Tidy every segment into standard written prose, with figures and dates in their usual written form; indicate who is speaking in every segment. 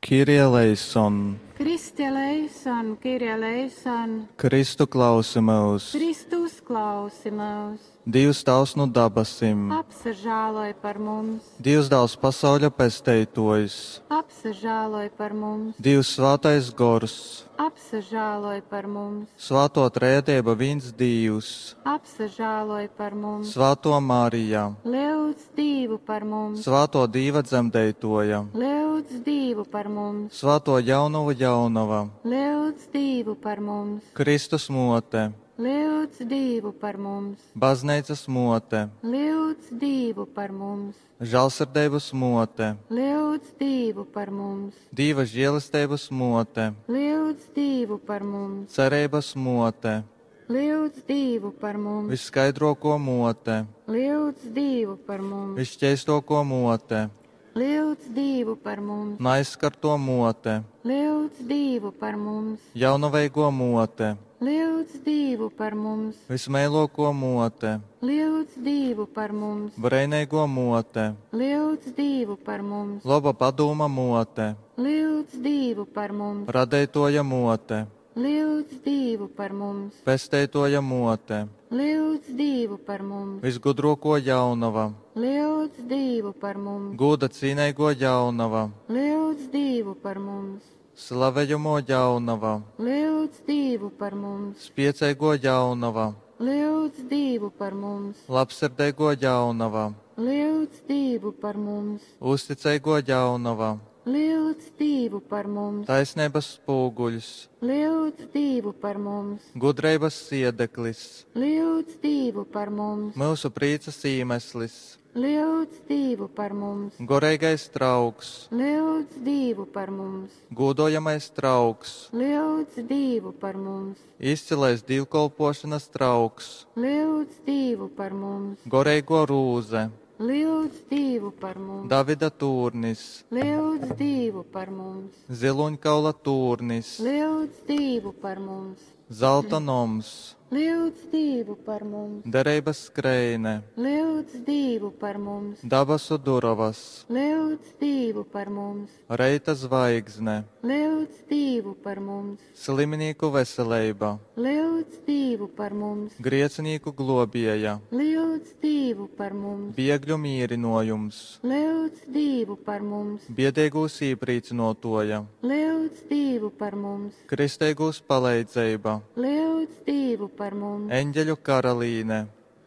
Speaker 1: Kyrie eleison!
Speaker 2: Christe eleison, Kyrie eleison!
Speaker 1: Kristu klausi myus!
Speaker 2: Kristu uzklausi myus!
Speaker 1: Dīvs Tāvs nu dabasim.
Speaker 2: Apsažāloj par mums!
Speaker 1: Dīvs Dāls pasauļa Pesteitōjs.
Speaker 2: Apsažāloj par mums!
Speaker 1: Dīvs Svātais Gors.
Speaker 2: Apsažāloj par mums!
Speaker 1: Svātō Trejadeiba vīns Dīvs.
Speaker 2: Apsažāloj par mums!
Speaker 1: Svātō Marija.
Speaker 2: Lyudz Dīvu par mums!
Speaker 1: Svātō Dīva dzemdeitōja.
Speaker 2: Lyudz Dīvu par mums!
Speaker 1: Svātō Jaunovu Jaunova.
Speaker 2: Lyudz Dīvu par mums!
Speaker 1: Kristus Mōte.
Speaker 2: Lyudz Dīvu par mums!
Speaker 1: Bazneicas Mōte.
Speaker 2: Lyudz Dīvu par mums!
Speaker 1: Žālsirdeibas Mōte.
Speaker 2: Lyudz Dīvu par mums!
Speaker 1: Dīva želesteibas Mōte.
Speaker 2: Lyudz Dīvu par mums!
Speaker 1: Cereibas Mōte.
Speaker 2: Lyudz Dīvu par mums!
Speaker 1: Vysskaidrōkō Mōte.
Speaker 2: Lyudz Dīvu par mums!
Speaker 1: Vysškeistōkō Mōte.
Speaker 2: Lyudz Dīvu par mums!
Speaker 1: Naaizskartō Mōte.
Speaker 2: Lyudz Dīvu par mums!
Speaker 1: Jaunaveigō Mōte.
Speaker 2: Lyudz Dīvu par mums!
Speaker 1: Vysmeilōkō Mōte.
Speaker 2: Lyudz Dīvu par mums!
Speaker 1: Breineigō Mōte.
Speaker 2: Lyudz Dīvu par mums!
Speaker 1: Loba padūma Mōte.
Speaker 2: Lyudz Dīvu par mums!
Speaker 1: Radeitōja Mōte.
Speaker 2: Lyudz Dīvu par mums!
Speaker 1: Pesteitōja Mōte.
Speaker 2: Lyudz Dīvu par mums!
Speaker 1: Vysgudrōkō Jaunova.
Speaker 2: Lyudz Dīvu par mums!
Speaker 1: Gūda cīneigō Jaunova.
Speaker 2: Lyudz Dīvu par mums!
Speaker 1: Slavejamō Jaunova.
Speaker 2: Lyudz Dīvu par mums!
Speaker 1: Spieceigō Jaunova.
Speaker 2: Lyudz Dīvu par mums!
Speaker 1: Labsirdeigō Jaunova.
Speaker 2: Lyudz Dīvu par mums!
Speaker 1: Uzticeigō Jaunova.
Speaker 2: Lyudz Dīvu par mums!
Speaker 1: Taisneibas spūguļs.
Speaker 2: Lyudz Dīvu par mums!
Speaker 1: Gudreibas siedeklis.
Speaker 2: Lyudz Dīvu par mums!
Speaker 1: Myusu prīcas īmeslis.
Speaker 2: Lyudz Dīvu par mums!
Speaker 1: Goreigais trauks.
Speaker 2: Lyudz Dīvu par mums!
Speaker 1: Gūdojamais trauks.
Speaker 2: Lyudz Dīvu par mums!
Speaker 1: Izcilais dīvkolpōšonas trauks.
Speaker 2: Lyudz Dīvu par mums!
Speaker 1: Goreigō rūze.
Speaker 2: Lyudz Dīvu par mums!
Speaker 1: Davida tūrnis.
Speaker 2: Lyudz Dīvu par mums!
Speaker 1: Zilūņkaula tūrnis.
Speaker 2: Lyudz Dīvu par mums!
Speaker 1: Zalta noms.
Speaker 2: Lyudz Dīvu par mums!
Speaker 1: Dereibas skreine.
Speaker 2: Lyudz Dīvu par mums!
Speaker 1: Dabasu durovas.
Speaker 2: Lyudz Dīvu par mums!
Speaker 1: Reita zvaigzne.
Speaker 2: Lyudz Dīvu par mums!
Speaker 1: Sliminīku veseleiba.
Speaker 2: Lyudz Dīvu par mums!
Speaker 1: Griecinīku globieja.
Speaker 2: Lyudz Dīvu par mums!
Speaker 1: Biegļu mīrinojums.
Speaker 2: Lyudz Dīvu par mums!
Speaker 1: Biedeigūs īprīcynuotuoja.
Speaker 2: Lyudz Dīvu par mums!
Speaker 1: Kristeigūs paleidzeiba.
Speaker 2: Lyudz Dīvu par mums!
Speaker 1: Eņģeļu karalīne.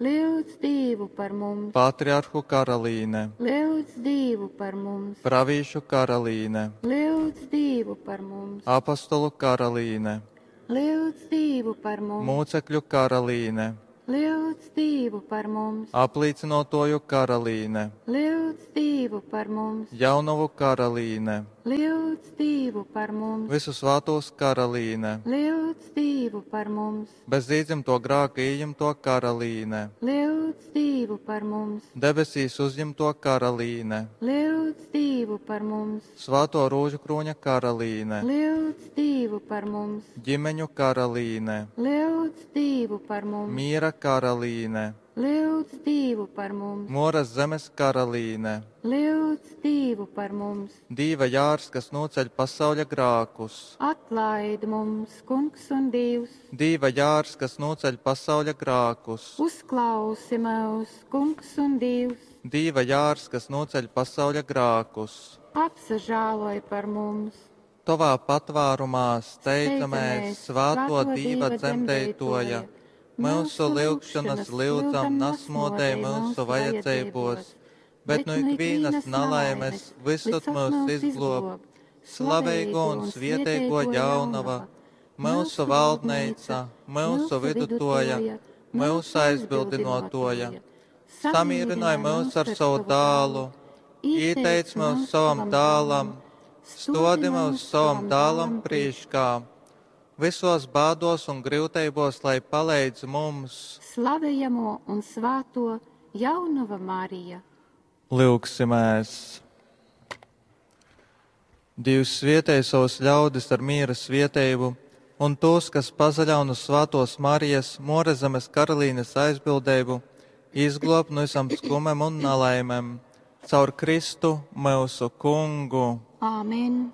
Speaker 2: Lyudz Dīvu par mums!
Speaker 1: Patriarhu karalīne.
Speaker 2: Lyudz Dīvu par mums!
Speaker 1: Pravīšu karalīne.
Speaker 2: Lyudz Dīvu par mums!
Speaker 1: Apostolu karalīne.
Speaker 2: Lyudz Dīvu par mums!
Speaker 1: Mūcekļu karalīne.
Speaker 2: Lyudz Dīvu par mums!
Speaker 1: Aplīcynuotuoju karalīne.
Speaker 2: Lyudz Dīvu par mums!
Speaker 1: Jaunovu karalīne.
Speaker 2: Lyudz Dīvu par mums!
Speaker 1: Visu svātūs karalīne.
Speaker 2: Lyudz Dīvu par mums!
Speaker 1: Bez īdzimto grāka ījimto karalīne.
Speaker 2: Lyudz Dīvu par mums!
Speaker 1: Debesīs uzņemto karalīne.
Speaker 2: Lyudz Dīvu par mums!
Speaker 1: Svāto rūžu krūņa karalīne.
Speaker 2: Lyudz Dīvu par mums!
Speaker 1: Ģimeņu karalīne.
Speaker 2: Lyudz Dīvu par mums!
Speaker 1: Miera karalīne.
Speaker 2: Lyudz Dīvu par mums!
Speaker 1: Moras zemes karalīne.
Speaker 2: Lyudz Dīvu par mums!
Speaker 1: Dīva jārs, kas noceļ pasauļa grākus.
Speaker 2: Atlaid mums, Kungs un Dievs!
Speaker 1: Dīva jārs, kas noceļ pasauļa grākus.
Speaker 2: Uzklausi mūs, Kungs un Dievs!
Speaker 1: Dīva jārs, kas noceļ pasauļa grākus.
Speaker 2: Apsažāloj par mums!
Speaker 1: Tovā patvārumā steidzamies, svāto Dīva dzemdētoja. Mūsu lyugšanas lyudzam nasmodē mūsu vajadzībos, bet no ikvienas nalaimes visur mūs izglob. Slaveigo un svieteigo jaunava, mūsu valdneica, mūsu vidutoja, mūsu aizbildinotoja. Samīrināj mūs ar savu dālu, ieteic mūs savam dālam, stodi mūs savam dālam prīškā. Visos bādos un grūtībos, lai paleidz mums.
Speaker 2: Slavējamo un svāto Jaunava Marija.
Speaker 1: Lūgsimies! Dievs svietēja savus ļaudis ar miera svietējumu, un tos, kas pazaļaun uz svātos Marijas, Morezemes karalīnes aizbildību, izglob no visam skumem un nelaimēm. Caur Kristu mūsu kungu.
Speaker 2: Āmen!